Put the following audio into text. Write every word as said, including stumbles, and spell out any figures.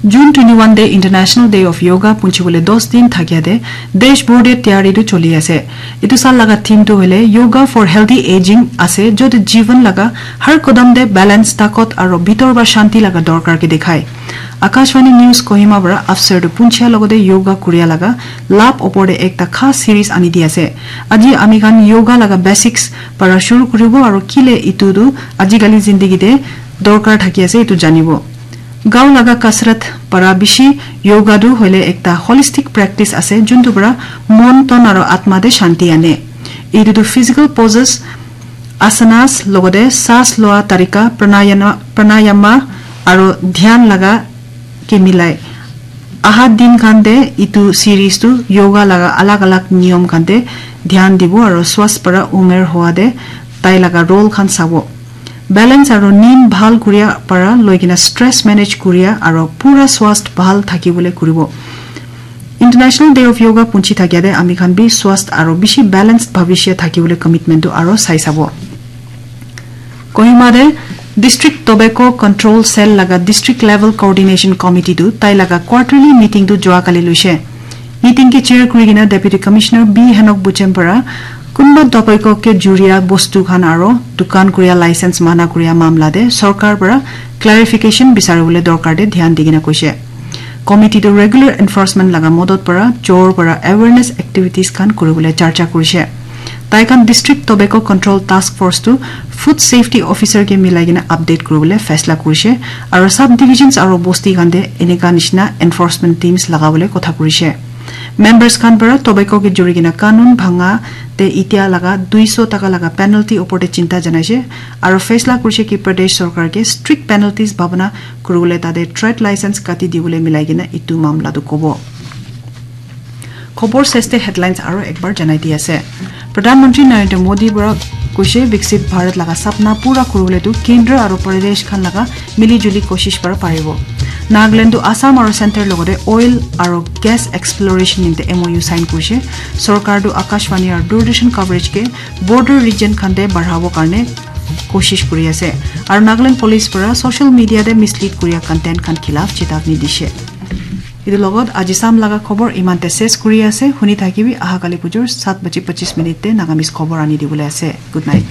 June twenty-one te International Day of Yoga punchibole dos din thakia te desh bhor te tayari tu choli ase. Etu sal laga theme tu hoile Yoga for Healthy Aging ase, jote jivan laga har kodam te balance, takot aro bhitor ba shanti laga dorkar ke dikhai. Akashvani News Kohima para afsar tu punchia logote yoga kuria laga lab opor te ekta khas series ani di ase. Aji ami khan yoga laga basics para shuru kuribo aro kile itu tu ajikali zindagi te dorkar thaki ase itu janibo. Gao laga kasrat para bishi yoga tu hoile ekta holistic practice ase, juntu para mon, ton aro atma te shanti ane. Itu tu physical poses, asanas logote saas loa tarika, pranayana-, pranayama aro dhyan laga ke milai. Aha din khan te itu series tu yoga laga alag alag niyom khan te dhyan dibo aro swast para umer hoa te tai laga role khan sabo. Balance aro neem bhal kuria para loi kena stress manage kuria aro pura swast bhal thaki bole kuribo. International Day of Yoga punchi thakia te ami khan bi swast aro bishi balanced bhavishya thaki bole commitment tu aro sai sabo. Kohima te District Tobacco Control Cell laga District Level Coordination Committee tu tai laga quarterly meeting tu jua kali luishe. Meeting ke chair kuri kena Deputy Commissioner B Henok Buchem para kunba tobacco ke juria bostu khan aro dukan kuria license mana kuria mamla te sorkar para clarification bisari bole dorkar te dhyan di kena koishe. Committee tu regular enforcement laga modot para jor para awareness activities khan kuri bole charcha kurishe. Tai khan District Tobacco Control Task Force tu Food Safety Officer ke milai kena update kuri bole faisla kurishe aro sub divisions aro bosti khan te eneka nishina enforcement teams laga bole kotha kurishe. Members khan para tobacco ke juri kena kanun bhanga te itia laga duiso taka laga penalty opor te chinta janaishe aro faisla kurishe ki Pradesh sorkar ke strict penalties bhabana kuri bole tate trade license kati di bole milai kena itu mamla tu kobo. Khobor seste headlines aro ekbar janai di ase. Pradhan Mantri Narendra Modi para koishe Viksit Bharat laga sapna pura kuribole tu Kendra aro Pradesh khan laga mili juli koshish para paribo. Nagaland tu Assam aro Center logote oil aro gas exploration nimte M O U sign kurishe. Sorkar tu Akashvani aro Doordarshan coverage ke border region khan te barhabo karne koshish kuri ase. Aro Nagaland Police para social media te mislead kuria content khan khilaf chetavni dishe. Etu logot aji sam laga khobor iman te ses kuri ase. Huni thakibi aha kali pujor sat baji pachis minute te Nagamese khobor ani dibole ase. Good night.